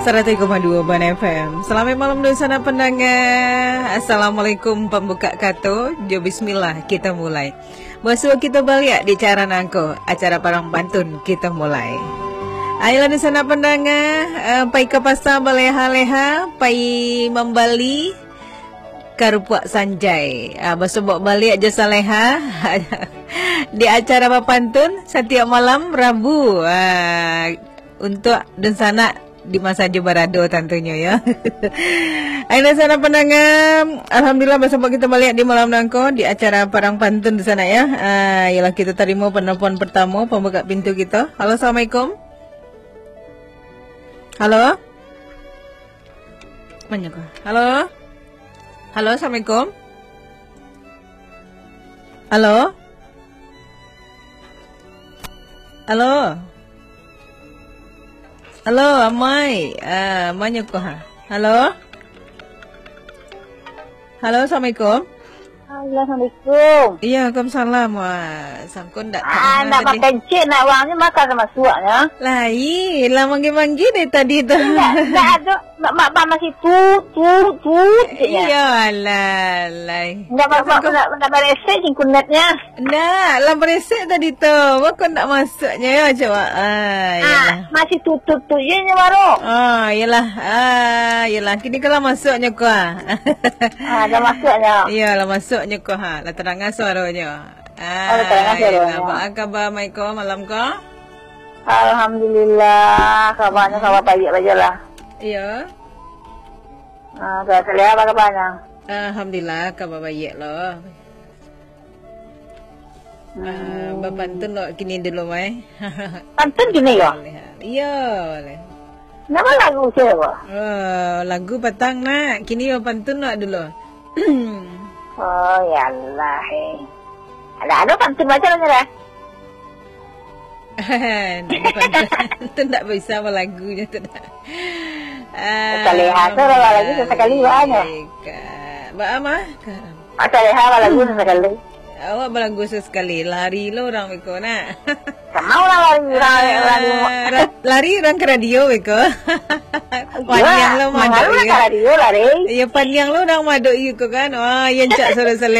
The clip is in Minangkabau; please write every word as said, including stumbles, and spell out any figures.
Saratus koma duo Bana F M. Salamaik malam dunsanak pandanga. Assalamualaikum, pambuka kato. Jo bismillah, kita mulai. Basuo kita baliak di acara nangko, acara Parang Pantun kita mulai. Ayolah dunsanak pandanga, eh, pai ka pasa baleha-leha, pai mambali karupuak sanjai. Ah, basobok baliak jo saleha di acara bapantun satiok malam Rabu. Ah, untuak dunsanak di ma sajo barado tantunyo, yo. Ayo, dunsanak pandanga, alhamdulillah, basobok kita baliak di malam nangko di acara Parang Pantun dunsanak, yo. Ah, iyolah, kita tarimo penelpon pertamo, pambuka pintu kita. Halo, assalamualaikum. Halo? Mana ko? Halo? Halo, assalamualaikum. Halo? Halo? Halo, amai. Ah, manyo ko, ha? Halo? Halo, assalamualaikum. Halo, assalamualaikum. Iya, waalaikumsalam. Wah, sangko ndak Ah, tadanga ndak tadi. Pakai cek, nak uangnya makan sama suaknya. Lai, lah manggil-manggil dari tadi tu. Ndak, ndak ada. Mak, mak, mak masih tut, tut, tut, ceknya. Iya, alah, lai. Ndak, mak, mak, ndak, ndak beresek singkunetnya. Ndak, lah beresek tadi tu. Bako ndak masuknya, ya, coba. Ah, Ah, iyalah. Masih tut, tut, tut je nyo baru. Ah, iyalah. Ah, iyalah. Kini kalau masuknya ko, ah. Ah, dah masuknya. Iya, lah masuknya ko, ha. Lah terdengar suaranya. Oh, lah terdengar Ah, suaranya. Iyalah. Apa khabar, Maiko, malam ko? Alhamdulillah, kabarnya khabar baik aja lah. Iya. Ah, Kak Saleha, apa kabarnya? Alhamdulillah, kabar baik lo. Ah, Hmm. Bapantun lo kini dulu, mai. Pantun kini, yo? Boleh. Iya, boleh. Nama lagu saya, Pak? Oh, lagu patang, nak. Kini bapantun lo dulu. Oh, ya Allah, eh. Ada, ada pantun macam mana, dah? Ndak ada pantun. Tu ndak bisa balagu je tu dah. Saleha tu lah balagu sesekali, Kak. Ba a mah? Saleha balagu sesekali. Awak balagu sesekali, lari lo urang beko nak. Sama lah lari urang, lari. Ah, ra-, lari urang ka radio beko. Iya, paniang lo madok ka radio lari. Iya, paniang lo urang madok iyo ko kan. Wah, iya cak suara Saleha.